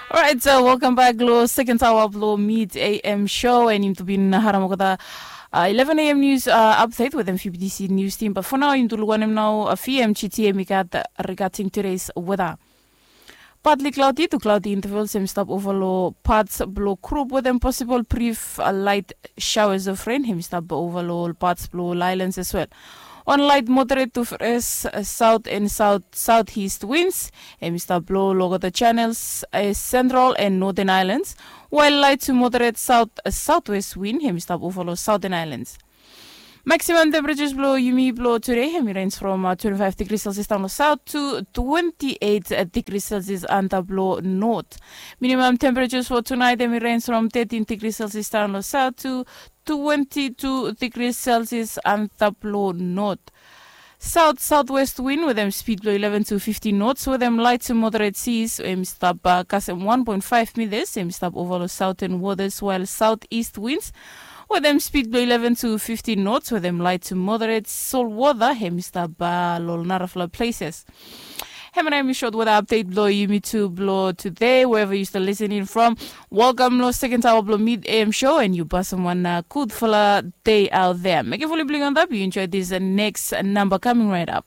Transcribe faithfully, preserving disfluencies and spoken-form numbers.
Orait, welkam bak long sekon aoa blong mid am show, and yumi tu bin harim olgeta eleven am nius apdet wetem fibitisi nius tim. Bat fo nao yumi tu luk wanem nao fim gtm i gat rigating tudes weta. Patli klaudi tu klaudi intavels em i stap ova long pats blong grup wetem posibol brif lait shaoas of ren em i stap ova long ol pats blong ol ailans as wel. Wan lait moderet tu fres saut en saut saut ist wins em i stap blo long olgeta chanels e sentral en noten ailans, wael lait tu moderet saut sautwes win em i stap ova long sauten ailans. Maksimam temperetas blong yumi blong tude em i rens from twenti faef digri selsias daon long saut tu twenti eit digri selsias antap long not. Minimam temperetas fo tunait em i rens from tetin digri selsias daon long saut tu twenti tu digri selsias antap long not. Saut sautwest win wetem spid blong ileven tu fifti nots wetem lait tu moderet sis em i stap kasem wan poen faef mitas em i stap ova long sauten wotas, wael saut ist wins wetem spid blong ileven tu fifti nots wetem lait tu moderet solwota em i stap long narafala pleses. Hemia nao em i sot weta apdet blong yumi tu blong tude, wherever yu stap lisening from. Welkam long sekon aoa blong mid am show, and yu pasem wan gudfala dei aot dea. Mekem fuli blong yu antap, yu enjoy this next number coming right up.